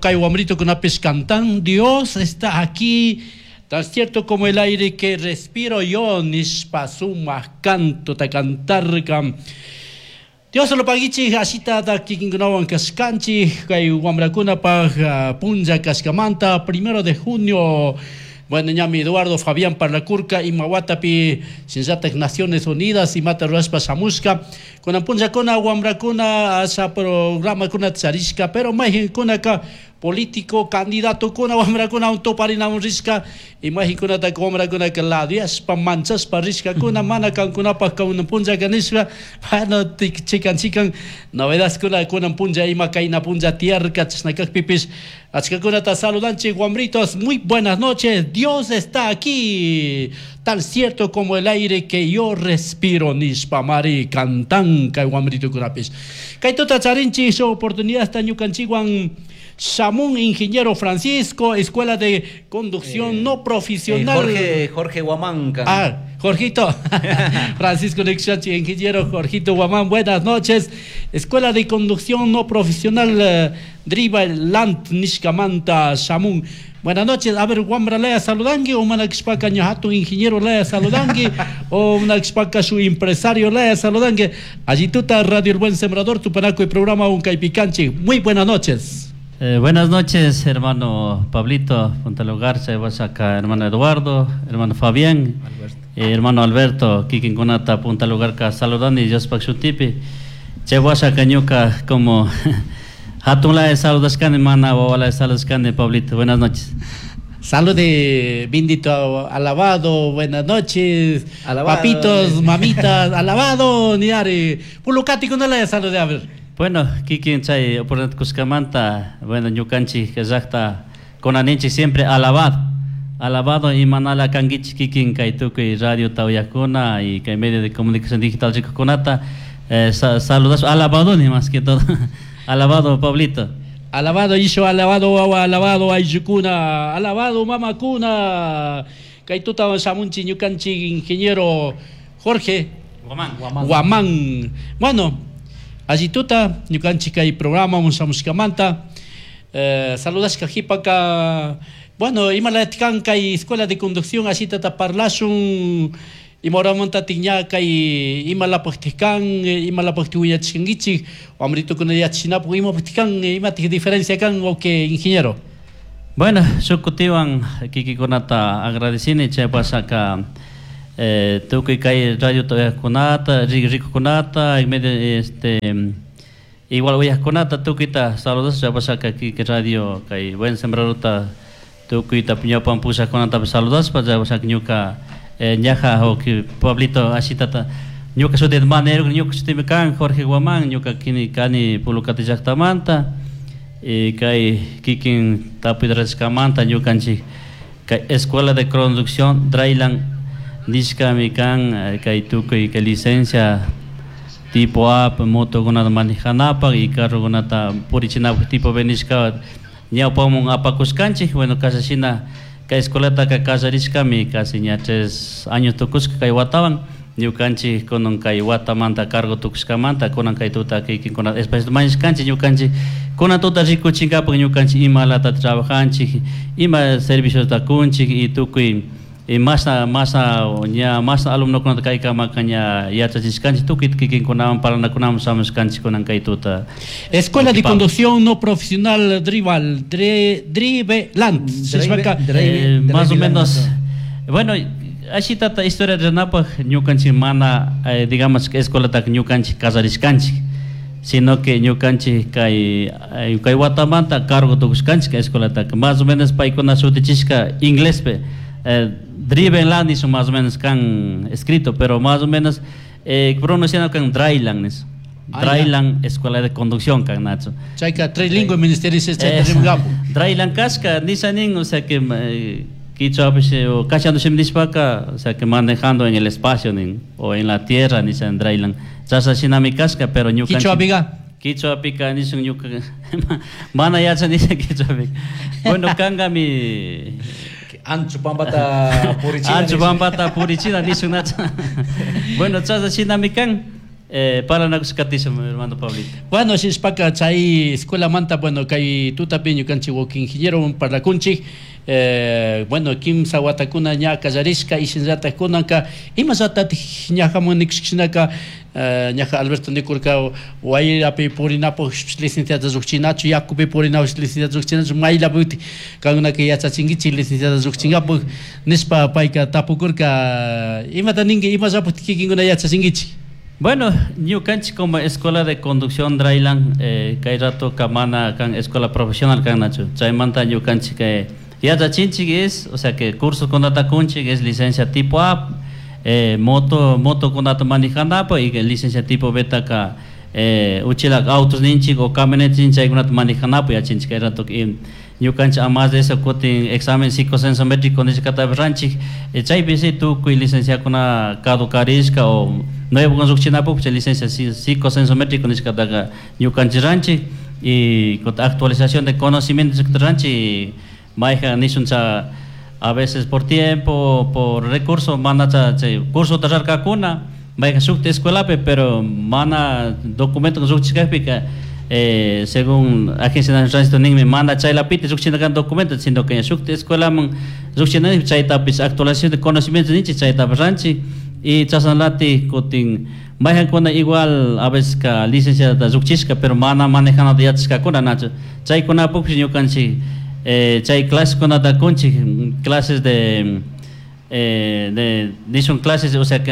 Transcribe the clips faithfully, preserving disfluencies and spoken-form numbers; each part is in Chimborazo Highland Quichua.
Kay wamritukunapis cantan, Dios está aquí, tan cierto como el aire que respiro yo, nishpa sumak canto ta cantarka. Dios lo paguichik, ashita da kikinkunawan kashkanchik, kay wamrakunapaj uh, punlla kashkamanta, primero de junio. Bueno, ñami Eduardo Fabián parlakurka, ima watapi shinallatak Naciones Unidas imata rurashpa shamushka. Kunan punllakuna wamrakuna asha programakuna charishka, pero mayqinkunaka político candidatokuna wamrakuna tuparinamun rishka, y mayqinkunataka wamrakunaka ladeashpa manchashpa rishkakuna, mana kankunapaj kunan punllaka nishpa. Bueno, chikan chikan novedadkuna kunan punlla ima kayna punlla tiyarka. Chashna kakpipish achkakunata saludanchik. Wamritos, muy buenas noches. Dios está aquí, tal cierto como el aire que yo respiro, nishpa mari cantan kay wamritukunapish. Kay tuta charinchik shuk oportunidad ñukanchikwan shamun ingeniero Francisco, Escuela de Conducción eh, No Profesional. Eh, Jorge, Jorge Guamán. Ah, Jorgito. Francisco Nixachi, ingeniero Jorgito Guamán, buenas noches. Escuela de Conducción No Profesional eh, Driveland nishkamanta shamun. Buenas noches. A ver, wambra laya saludangi o mana kishpaka ña hatun ingeniero laya saludangi o mana kishpaka su empresario laya saludangi. Alli tuta, Radio El Buen Sembrador, tupanakuy programa un kaypi. Muy buenas noches. Eh, buenas noches, hermano Pablito Punta Lugar, acá, hermano Eduardo, hermano Fabián, eh, hermano Alberto, kikinkunata Punta Lugar saludando y Diospaj shutipi. Chay ñuka como hatun laya saludashkani, mana wawalaya saludashkani, Pablito. Buenas noches. Salude, bendito, alabado, buenas noches. Alabado. Papitos, mamitas, alabado, niari. Pulukati no le salude, a ver. Bueno, kikin chay oportunidad kushkamanta, bueno, ñukanchik llaqta kunaninchik siempre alabado. Alabado y manala kankichik kikin kay tukuy radio tawayakuna y kay medio de comunicación digital rikukunata eh, sa saludas alabado ni más que todo. Alabado, Pablito. Alabado isho, alabado wawa, alabado ayllukuna, alabado mamakuna. Kay tuta shamunchik ñukanchik ingeniero Jorge Guamán. Guamán. Guamán. Bueno, alli tuta, ñukanchik kay programa shamushkamanta. Eh, saludashka qhipaka, bueno, imalatikan kay Escuela de Conducción, ashitata parlashun, imahoramantatik ña kay imalapaqtik kan, imalapaqtik wiñachishkankichik, wamritukuna yachachinapaq imapaqtik kan, imatik diferencia kan o que ingeniero. Bueno, shuk kutiwan kikikunata agradecini chay pasaka eh, tukuy kay radio kunata, rikukunata, medio este igual uyaqkunata tukuyta saludos. Chay pasaka kiki radio kay Buen Sembradorta tukuyta ñawpan pushaqkunatapish saludaspa. Chay pasaka ñuka eh, ñaja o Pablito ashitata ñuka shuti manero ñuka shutimi kan Jorge Guamán, ñuka kini kani Pulukati llaqtamanta y kay kikin tapuy rashkamanta ñukanchik kay Escuela de Conducción Dryland nishkami kan eh, kay tukuy kay licencia tipo A motokunata manejanapaq y carrokunata purichinapaq tipo B nishka ñawpamun apakushkanchik. Bueno, kashashina kay escuelataka kallarishkami casi ña tres años tukushka kay watawan. Ñukanchik kunan kay watamanta cargo tukushkamanta kunan kay tuta kikinkuna espacio mañashkanchik ñukanchik kunan tuta rikuchinkapak ñukanchik imalata trabajanchik, ima serviciota kunchik y tukuy y mashna mashna ña mashna alumnokunata kaykamaka ña yachachishkanchik, tukuy kikinkunawan parlanakunaman shamushkanchik kunan kay tuta. Escuela de Conducción No Profesional Drival, Dre, Driveland. Drive, eh, más o menos, bueno, ashitata historia rinapaj ñukanchik mana eh, digamos que escuelataka ñukanchik kallarishkanchik, sino que ñukanchik kay eh, kay watamanta cargo tukushkanchik kay escuelataka. Más o menos paykuna shutichishka inglespi eh, Driven Land nishun más o menos kan escrito, pero más o menos eh, pronunciando kan Dryland nish. Ah, Dryland Escuela de Conducción kan nacho. Chayka trilingüe ministerio Eh, chayta. Dryland kashka nisha nin, o sea que eh, quichuapish o kachando shimi nishpaka, o sea que manejando en el espacio nin, o en la tierra nisha en Dryland. Chasha shinami kashka, pero ñukanchik Quichuapica. Quichuapika nishun ñuka mana yachani quichuapika. Bueno, kangami Ancho pampata purichina. Ancho pampata purichina nishun nacha. Bueno, chasha shinami kan. Eh, parlanakushkatisha hermano Pablito. Bueno, shinashpaka chay escuelamanta, bueno, kay tutapi ñukanchik wawki ingeniero parlakunchik, eh, bueno, kimsa watakuna ña kallarishka y shinallatak kunanka imallatatik ñajamun nikushkashinaka, eh, ñaja Alberto nikurka wayrapi purinapuk licenciata llukchinachu, yakupi purinapuk licenciata llukchinachu, maylapi kankunaka yachachinkichik licenciata llukchinkapak nishpa payka tapukurka, imata ninki, imallapuk kikinkuna yachachinkichik? Bueno, ñukanchik como Escuela de Conducción Dryland, eh, kay rato kamana kan escuela profesional kan nachu. Chaymanta ñukanchik eh, yachachinchik es, o sea que curso kunata kunchik es licencia tipo A, eh, moto, moto kunata manejanapak y licencia tipo B taka eh, uchila autos ninchik o camionetas ninchik chaykunata manejanapak yachinchik kay rato y ñukanchik a más de eso kutin examen psicosensométrico nishkatapish ranchik, eh, chaypi si tukuy licenciakuna caducarishka o nuevo llukchinapuk chay licencia psicosensométrico nishkataka ñukanchik ranchik y con actualización de conocimientos nishkata ranchik, mayjan nishun cha a veces por tiempo, por recurso, mana cha chay curso rarkakuna, mayjan shukta escuelapi, pero mana documento llukchishkakpika, eh, según Agencia Nacional de Tránsito ninmi mana chaylapita llukchina kan documento, sino que shukta escuelaman llukchina chaytapish actualización de conocimientos ninchik chaytapish ranchik y chashnalati kutin mayjankuna igual a veces ka licenciata llukchishka pero mana manejanata yachashkakuna nachu chaykunapukpish ñukanchik eh, chay clasekunata kunchik clases de eh, de nishun clases, o sea que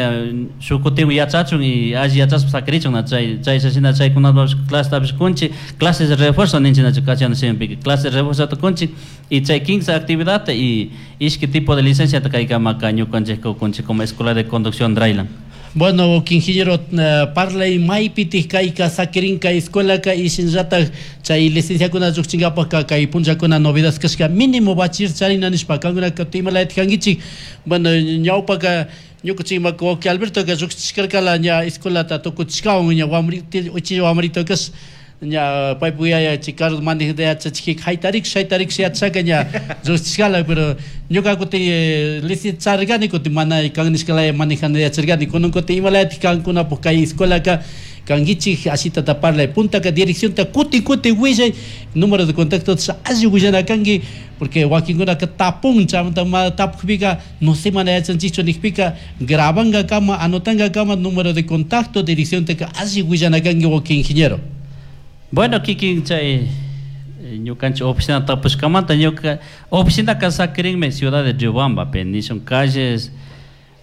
shuk kutin yachachun y alli yachashpa sakirichun na chay chay shina chaykunatapish clasetapish kunchik clases de refuerzo ninchik nachu castellano shimipika clases de refuerzo kunchik y chay quince actividad y ishki tipo de licencia kaykamaka ñukanchik kunchik como Escuela de Conducción Dryland. Bueno, ingeniero, uh, parlay maypitik kayka sakirinka escuelaka y shinallatak chay licenciakuna llukchinkapakka kay punllakuna novedad kashka mínimo bachiller charina nishpa kankunaka imalaytik kankichik. Bueno, ñawpaka ñukanchik wawki Albertoka llukchishkarkala ña escuelata tukuchishkawan ña wamrito uchilla wamrito kash ña paypuk yaya chay carro manejata yachachikika haytarik shaytarik yachashaka ña llukchishkala, pero ñuka kutin licencia charirkani kutin mana kan nishkalaya manejana yacharkani kunan kutin imalayatik kankunapuk kay escuelaka kankichik ashitata parlay puntaka direccionta kutin kutin willay número de contacto alli willana kanki porque wakinkunaka tapun chaymanta ma tapukpika no sé mana yachanchikchu nikpika grabankakama anotankakama número de contacto direcciontaka alli willana kanki wawki ingeniero. Bueno, kikin chay ñukanchik oficina tapushkamanta ñuka oficinaka sakirinmi ciudad de Riobamba pe nishun calles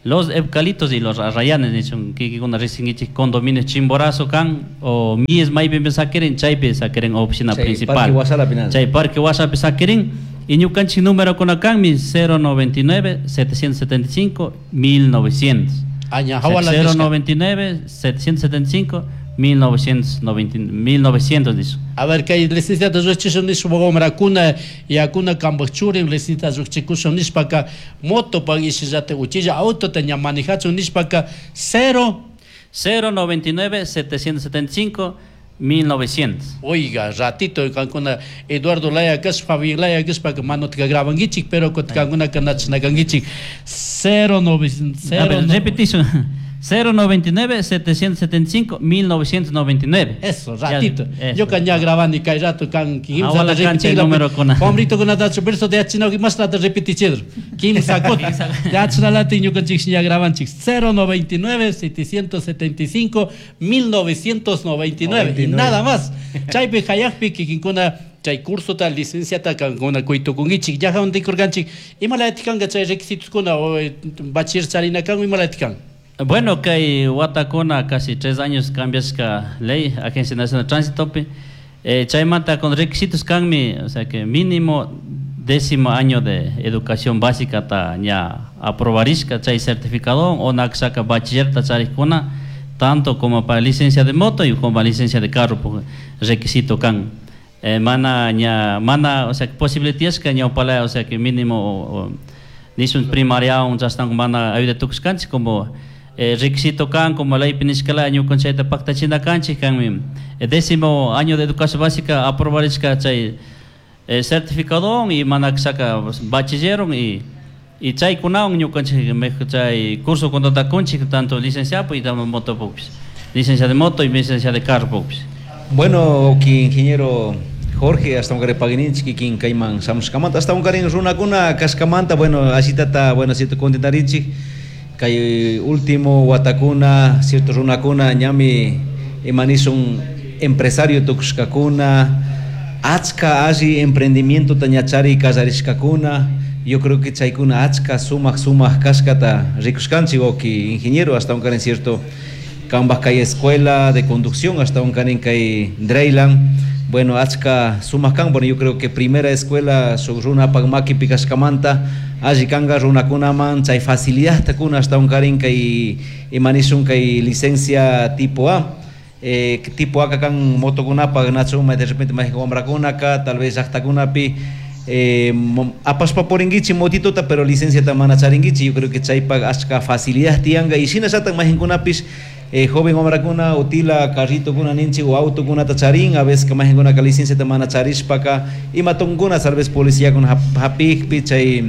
Los Eucaliptos y los Arrayanes nishun kikinkuna riqsinkichik condominio Chimborazo kan o mies maypimi sakirin chaypi sakirin oficina Chay principal. Parque Huasalapi nada. Chay Parque Huasalapi sakirin y ñukanchik número kuna kanmi cero noventa y nueve setecientos setenta y cinco mil novecientos. Aña, hawala cero nishka. noventa y nueve setecientos setenta y cinco mil novecientos noventa, mil novecientos dice. A ver, kay licenciata llukchishun nishpa wamrakuna yakuna kambaj churin licenciata llukchikushun nishpaka motopak ishillata uchilla autota ña manejachun nishpaka cero cero noventa y nueve setecientos setenta y cinco mil novecientos. Oiga, ratito kankuna Eduardo Laya kaspa, Fabián Laya kaspa que manotka grabankichik, pero kutin kankuna kanachinakankichik cero novecientos, cero A ver, no- repetición. cero noventa y nueve setecientos setenta y cinco mil novecientos noventa y nueve. Eso, ratito. Ya, eso. Yo kan ya grabani kay rato kan kimsa Awala ta kancha repetir número kuna. Hombrito kuna tacho verso de achina más la repetichedro. Kimsa kot. De achina lati ñukanchik ya grabanchik cero noventa y nueve setecientos setenta y cinco mil novecientos noventa y nueve. Y nada más. Chaypi hayakpi kikinkuna chay curso ta licencia ta kankuna kuytukunkichik. Ya hawan tikurkanchik. Imalati kanka chay requisitos kuna o bachiller charina kan imalati kan. Bueno, kay watakuna casi tres años cambiasca ley, Agencia Nacional de Tránsito, pe. Eh, chaymanta con requisitos kanmi, o sea que mínimo décimo año de educación básica ta ña aprobarishka chay certificado o naksaka bachiller ta charikuna, tanto como para licencia de moto y como para licencia de carro, pues, requisito kan. Eh, mana ña, mana, o sea, posibilidades que ña opala, o sea que mínimo o, o, nisun primaria un chastan mana ayuda tukuskanchik como eh, requisito kan como ley pinishkala ñukanchayta paktachina kanchik kanmi. Eh, décimo año de educación básica aprobarishka chay, eh, certificado y manaksaka bachilleron y, y chaykunawan ñukanchik mejor chay curso contratakunchik tanto licenciado y también motopupis. Licencia de moto y licencia de carro. Bueno, ingeniero Jorge, hasta un pagininchi kikin kayman shamushkamanta, hasta un karin runakuna kashkamanta, bueno, ashitata, bueno, cierto contentarinchik, kay último watakuna, cierto runakuna, ñami imanisun empresario tukushkakuna, achka alli emprendimiento ñachari kallarishkakuna, yo creo que chaykuna achka sumak sumak kashkata rikushkanchik, wawki ingeniero, hasta un karin cierto kambaj kay escuela de conducción, hasta un karin kay Dreyland, bueno, achka sumak kan, bueno, yo creo que primera escuela shuk runapak makipi kashkamanta, alli kanga runakunaman chay facilidad takuna hasta un karin kay imanishun kay licencia tipo A, eh, tipo A kan motokunapak nachu de repente mayjin wamrakunaka, tal vez llaqtakunapi eh, apashpa purinkichik motituta, pero licenciata mana charinkichik, yo creo que chaypak achka facilidad tiyanka y shinallatak mayjinkunapis eh, joven wamrakuna utila carritokuna ninchik o autokunata charin, a veces mayjinkunaka licenciata mana charishpaka ima tukunkuna tal vez policiakuna hapikpi chay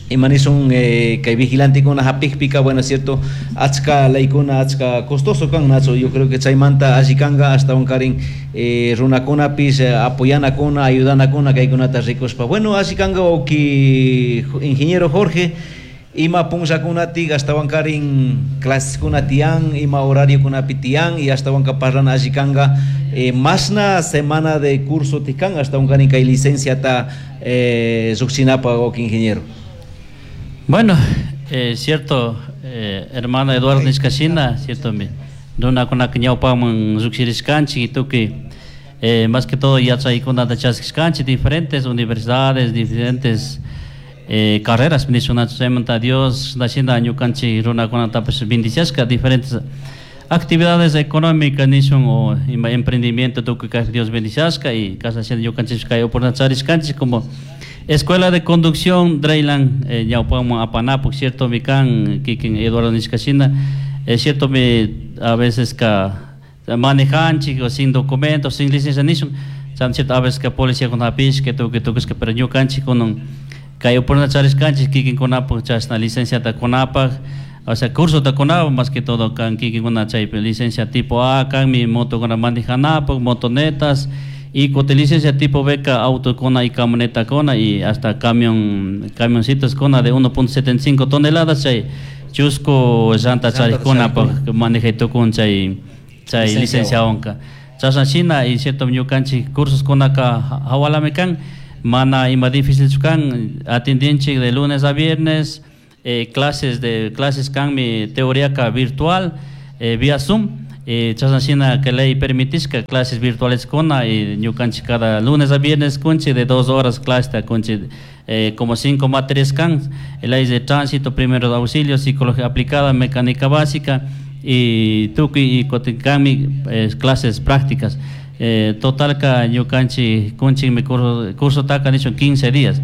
imanishun eh, kay vigilantekuna hapikpika, bueno, cierto, achka leykuna achka costoso kan, nacho, yo creo que chaymanta alli kanka hasta un karin eh, runakunapis eh, apoyanakuna, ayudanakuna kaykunata rikushpa. Bueno, alli kanka wawki ingeniero Jorge, ima punllakunatik ashtawan karin claseskuna tiyan, ima horariokunapi tiyan y ashtawanka parlana alli kanka eh, mashna semana de curso tikan ashtawan karin kay licenciata eh, llukshinapa wawki ingeniero. Bueno, eh, cierto, eh, hermano Eduardo nishkashina, cierto, mi runakunaka ñawpaman llukshirishkanchik y tukuy eh, más que todo yachaykunata chaskishkanchik diferentes universidades, diferentes eh, carreras, nishunachik chaymanta Dios nashina ñukanchik runakunatapish bendiciashka diferentes actividades económicas nishun o ima emprendimiento tukuy kay Dios bendiciashka y kashna ñukanchik kay oportunidad charishkanchik como Escuela de Conducción Dreyland eh, ñawpaman apanapuk, cierto, mi kan kikin Eduardo nishkashina, es cierto, mi a veces ka manejanchik o sin documentos, sin licencia nishun, chan cierto, a veces ka policía kun hapishka tukuy tukushka, pero ñukanchik kunan kay oportunidad charishkanchik kikinkunapuk chashna licenciata kunapak, o sea, curso ta kunapuk, más que todo kan kikinkuna chaypi licencia tipo A, kan mi motokuna manejanapuk, motonetas, y con licencia tipo B, auto con y camioneta con y hasta camión, camioncitos con de uno punto setenta y cinco toneladas, chay chusco llanta chay con pa maneja con chay chay licencia onca. Chasna china y cierto ñukanchik cursos con acá hawalame kan mana ima difícil kan atendienchik de lunes a viernes, eh, clases de clases kan mi teoría ka virtual, eh, vía Zoom. Eh, chasna shina que ley permitishka clases virtuales kuna y ñukanchik cada lunes a viernes kunchi de dos horas clase ta kunchi, eh, como cinco materias kan, ley de tránsito, primeros auxilios, psicología aplicada, mecánica básica y tukuy y kotinkami, eh, clases prácticas. Eh, total ka ñukanchik kunchi mi curso, curso taka nichun quince días.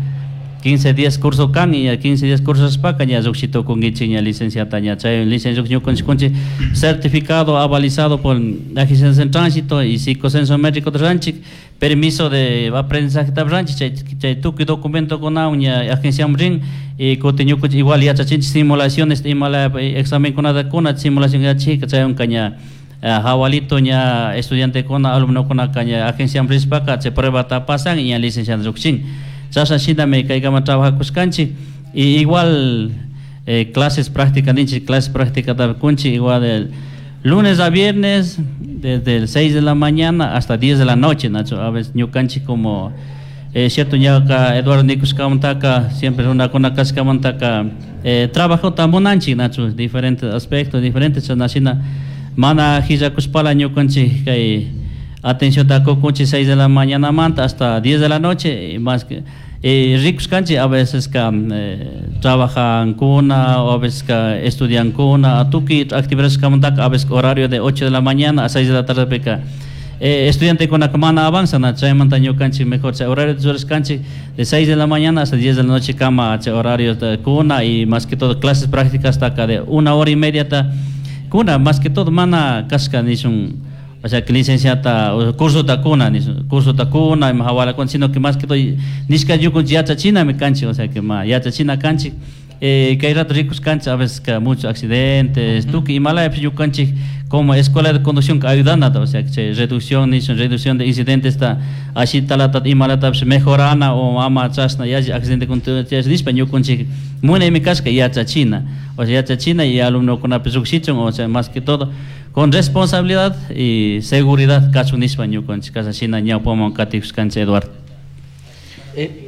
quince días curso kan y a quince días curso spaka ña lluqshitukunkichik ña licenciata ña chay licencia ñukanchik kunchik certificado avalizado por Agencia de Tránsito y psicosensométrico ranchik, permiso de aprendizaje ranchik, chay, chay tukuy documento kuna ña agencia rin y kutin ñukanchik igual yachachinchik simulaciones imala examen kunata kuna simulación yachik chay unka ña hawalito ña estudiante kuna alumno kuna ña agencia rispaka chay prueba ta pasan y ña licencia lluqshin. Chasna shinami kaykama trabajakushkanchik y igual, eh, clases prácticas ninchik, clases prácticas kunchik igual el lunes a viernes desde el seis de la mañana hasta diez de la noche, Nacho. A veces ñukanchik como, eh, cierto ñaka Eduardo nikushkamantaka siempre runakuna kashkamantaka, eh, trabajo tamunanchik, Nacho, diferentes aspectos, diferentes chasna shina mana hillakushpala ñukanchik kay atención takukunchik seis de la mañana manta hasta diez de la noche y más que eh, rikushkanchik a veces ka, eh, trabajan kuna o a veces ka estudian kuna tukuy actividades kamantaka a veces horario de ocho de la mañana a seis de la tarde peka, eh, estudiante kuna mana avanza na chaymanta ñukanchik mejor chay horario de churashkanchik de seis de la mañana hasta diez de la noche kama chay horario de kuna y más que todo clases prácticas taka de una hora y media ta kuna más que todo mana kashka nishun o sea que licenciata o curso ta kuna ni curso ta kuna y hawala con sino que más que todo nishka yukun yachachina mi kanchi o sea que ma yachachina kanchi Eh, kay rato rikuskanchik a veces ka muchos accidentes, uh -huh. Tukuy imalaypish ñukanchik como escuela de conducción ayudanata, o sea, chay reducción nishun reducción de incidentes ta ashitalata imalatapish mejorana o ama chashna yalli accidente nishpa ñukanchik munaymi kashka yachachina, o sea, yachachina y alumnokunapish llukshichun, o sea, más que todo con responsabilidad y seguridad kachun nishpa ñukanchik kashna ñawpaman katikushkanchik, Eduardo. Eh,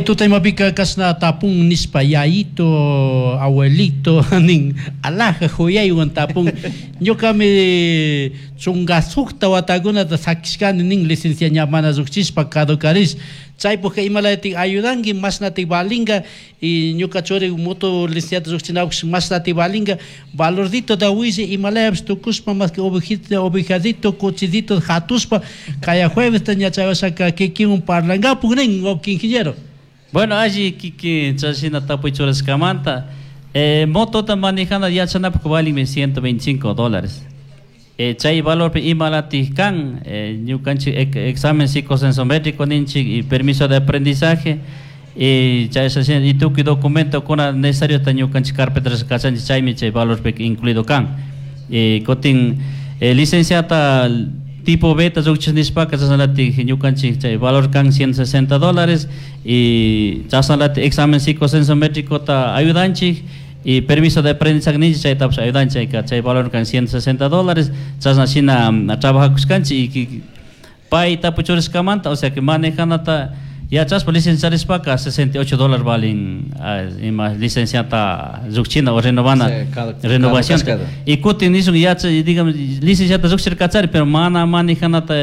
tuta imapika kashna tapun nishpa yayito abuelito nin alaja huyaywan tapun ñukami chunka sukta watakunata sakishkani nin licencia ña mana llukchishpa caducarish chaypukka imalatik ayudanki mashnatik valinga y ñuka churi moto licenciata llukchinakush mashnatik valinga valordito da willi imalayapish tukushpa más que ovejito ovejadito cochidito hatushpa kaya jueves ña chaywashaka kikinwan parlankapuk nin wawki ingeniero. Bueno, alli kiki chashina tapuy churashkamanta eh, motota manejana yachanapuk valinmi ciento veinticinco dólares. Eh, chay valorpi imalatik kan eh, ñukanchik examen psicosensométrico ninchik y permiso de aprendizaje y chay y tukuy documento kuna necesario ta ñukanchik carpeta kachanchik chaymi chay valorpi incluido kan. Eh, kutin eh, licenciata tipo beta llukchish nishpaka chashnalatik ñukanchik chay valor kan ciento sesenta dólares y chashnalatik examen psicosensométrico ta ayudanchik y permiso de aprendizaje ninchik chaytapish ayudanchik chay valor kan ciento sesenta dólares chashna shina trabajakushkanchik y pay tapuchurishkamanta, o sea que manejanata yachashpa licenciarishpaka sesenta y ocho dólares valen ima licenciata llukchina o renovana renovación y kutin nishun yacha digamos licenciata llukchirkachari pero mana manejanata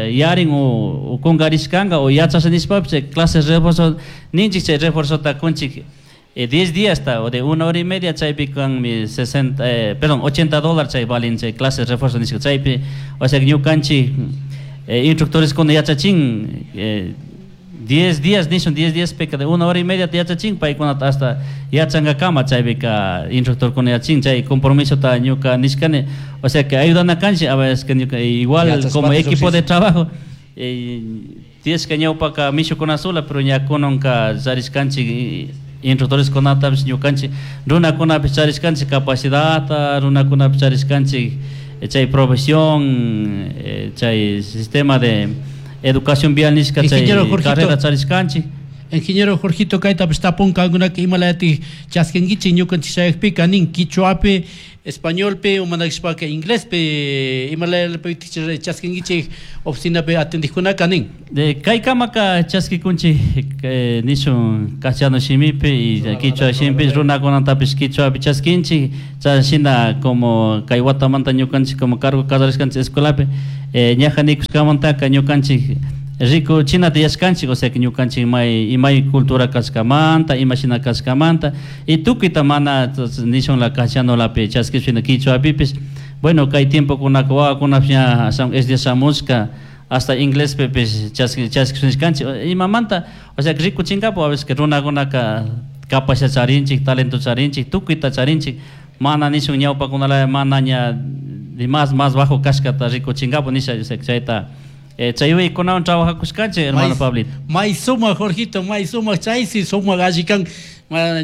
yarin o kungarishkanka o yachasha nishpapish chay clases refuerzo ninchik chay refuerzota kunchik eh, diez días ta o de una hora y media chaypi kanmi sesenta eh, perdón ochenta dólares chay valen chay clases refuerzo nishka chaypi, o sea que ñukanchik eh, instructores kuna yachachin eh, diez días nishun diez días peka de una hora y media yachachin paykunata hasta yachankakama chaypika instructor kuna yachin chay compromiso ta ñuka nishkani, o sea que ayudana kanchik a veces que ñuka igual como equipo de trabajo eh, tienes que ñawpaka mishukuna sola pero ña kunanka charishkanchik instructores kunatapish ñukanchik runakunapish charishkanchik capacidadta runakunapish charishkanchik chay profesión eh, chay sistema de educación vial nishka chay carrera charishkanchik. Ingeniero Jorgito kaytapish tapunka kankunaka imalayatik chaskinkichik ñukanchik chayakpika nin quichuapi españolpi o manakishpaka inglespi imalayapi chaskinkichik oficinapi atendijkunaka nin. De kaykamaka chaskikunchik eh, nishun castellano shimipi y quichua shimipi runakunatapish quichuapi chaskinchik chashina como kay watamanta ñukanchik como cargo kallarishkanchik escuelapi eh, ñaja nikushkamantaka ñukanchik rico chinata yashkanchik, o sea que ñukanchik may imay cultura kashkamanta imashina kashkamanta y tukuyta mana nishun la castellano lapi chaskishpina quichuapipish bueno kay tiempo kunaka wawakunapish ña es día shamushka hasta inglés pipish chaskishkanchik imamanta, o sea que rikuchinkapu a veces que runakunaka capacidad charinchik talento charinchik tukuyta charinchik mana nishun ñawpakunalaya mana ña más más bajo kashkata rikuchinkapu nisha, o sea que chayta Eh, chayuykunawan trabajakushkanchik hermano Pablito. May sumaq Jorgito, may sumaq chaysi sumaq alli kan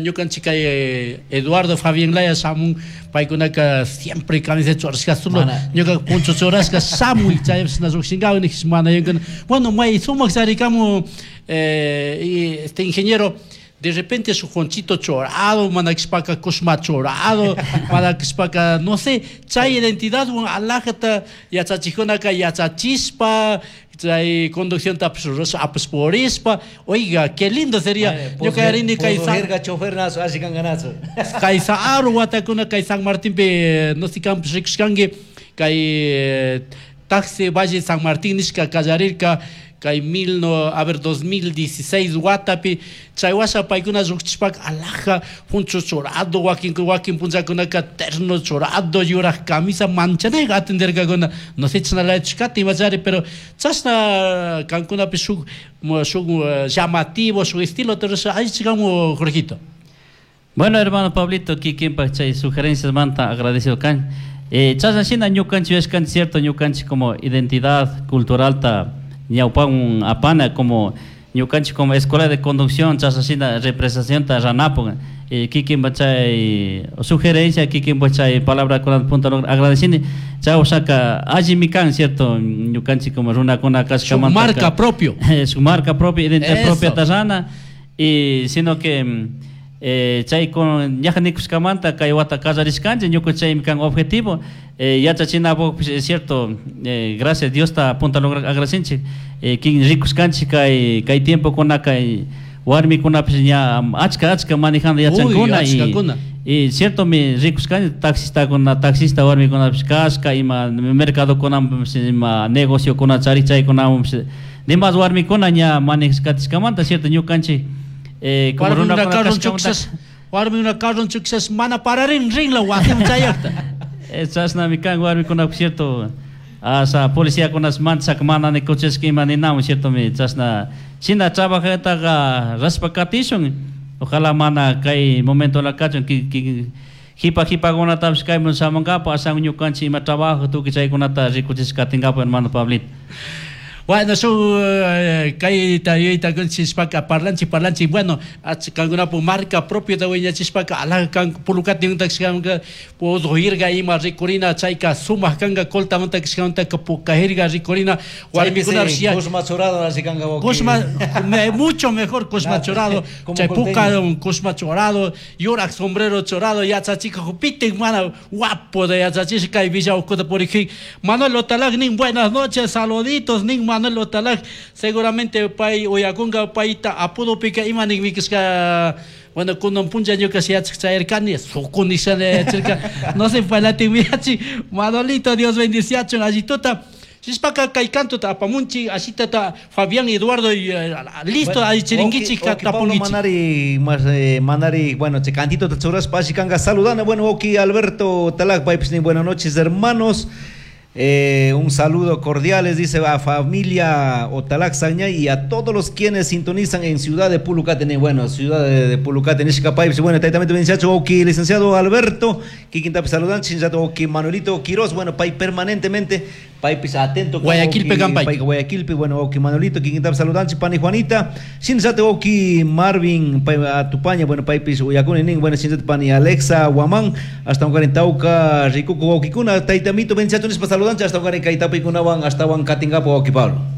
ñukanchik kay Eduardo Fabián Laya shamun paykunaka siempre camiseta churashka solo ñuka puncho churashka shamuy chaypishna llukshinkawan nikish mana yunkuna. Bueno, may sumaq charikamu eh, y este ingeniero de repente su jonchito chorado, manakishpaka kushma chorado, manakishpaka, no sé, chay identidad, alajata yachachijkunaka yachachishpa, chay conducción apusporishpa, oiga, qué lindo sería. Yo caerini kay San chofer nazo, así ganazo. Kay Saaru watakuna kay San Martín pe no sé campus rikushkanki kay taxi Valle San Martín nishka kallarirka kay mil no, a ver, dos mil dieciséis watapi chay washa paykuna lluqchishpaka alaja puncho chorado wakin wakin punchakunaka terno chorado yuraq camisa manchanayqa atenderkakuna no sé chashnalayachushkata imachari pero chashna kankunapi shuk shuk llamativo shuk estilo allichikamu Jorgito. Bueno, hermano Pablito, kikinpak chay sugerencias manta agradecido kan. Eh, chashna shina ñukanchik yuyashkanchik cierto ñukanchik como identidad cultural ta ñawpan apana como Ñukanchik como escuela de conducción chasasina representación ta ranapo eh, kikin chay sugerencia kikin chay palabra con punta agradecini chay osaka allimi kan cierto ñukanchik como runakuna Su marca propio. Su marca propia, identidad Eso. propia tarrana y sino que eh, chay con ñaja nikuskamanta kay wata kallarishkanchik ñuka chaymi kan objetivo eh, yachachinapukpish es cierto eh, gracias Dios ta punta lograr agradecinchik eh, kin rikuskanchik kay kay tiempokunaka warmikunapish ña achka achka manejando yachankuna Uy, y achkakuna. y cierto mi rikuskanchik taxistakuna taxista warmikunapish kashka ima mercadokunapish ima negociokuna charik chaykunapish demás warmikuna ña manejashkatiskamanta cierto ñukanchik eh, como Warmi una runakuna carro kashkamanta chuksas, warmi una carro chuksas mana pararin rinla wasim chayaqta. Eh, chashnami kan warmikuna cierto asa policiakunas manchak mana nikuchishka ima ninamun cierto mi chashna shina trabajataqa raspa katishun ojalá mana kay momento la kachun ki, ki, jipa jipakunatapish kayman shamunkapa ashan ñukanchik ima trabajo tukuy chaykunata rikuchishka katinkapak hermano Pablito. Bueno, su kayta yuyayta kunchishpaka parlanchik parlanchik bueno kankunapu marca propio ta wiñachishpaka alaja kan Pulucati kashkamanta pudhirka ima rikurina chayka sumak kanka Coltamanta kashkamantaka pukajirka rikurina warmikunapish ya Cusma chorado así kanka wawki. Cusma, me, mucho mejor Cusma chorado, Como chay puka colteño. Cusma chorado, yurak sombrero chorado, yachachika jupiten mana guapo de yachachishka kay Villa Ucuta por Manuel Otalag nin buenas noches, saluditos nin Manuel Otalag, seguramente pay uyakunga payta apudo pika ima nin mikishka bueno, kunan puncha ñuka yachak chayarkani, sukuni yachirka, no sé, palatin miyachi, Manolito, Dios bendiciachun, allituta. Shishpaka kay canto apamunchi, ashitata Fabián Eduardo y, eh, listo, Bueno, ahí chiringuichi oki- oki Pablo tapunguichi. Manari, mas, eh, Manari, bueno, che cantito te churas pa kanga saludando. Bueno, oki Alberto Talac, paypis nin, buenas noches, hermanos. Eh, un saludo cordial, les dice a familia Otalac Saña y a todos los quienes sintonizan en Ciudad de Pulucate, bueno, Ciudad de, de Pulucate, Nishkapay, bueno, también licenciado Oki, licenciado Alberto, Kikintapi saludan, licenciado Oki Manuelito Quiroz, bueno, pay permanentemente, pay pis atento, Guayaquilpe Oki, Campay. pay Guayaquilpe, bueno, Oki Manuelito, Kikintapi saludan, Pani Juanita, licenciado Oki Marvin, pay Atupaña, bueno, pay pis Uyacuni, nin, bueno, licenciado Pani Alexa Guamán, hasta un Tauca, Ricuco, Okikuna, Taitamito, licenciado, saludan, hasta un Kaitapikunawan, hasta un Katingapo, Oki Pablo.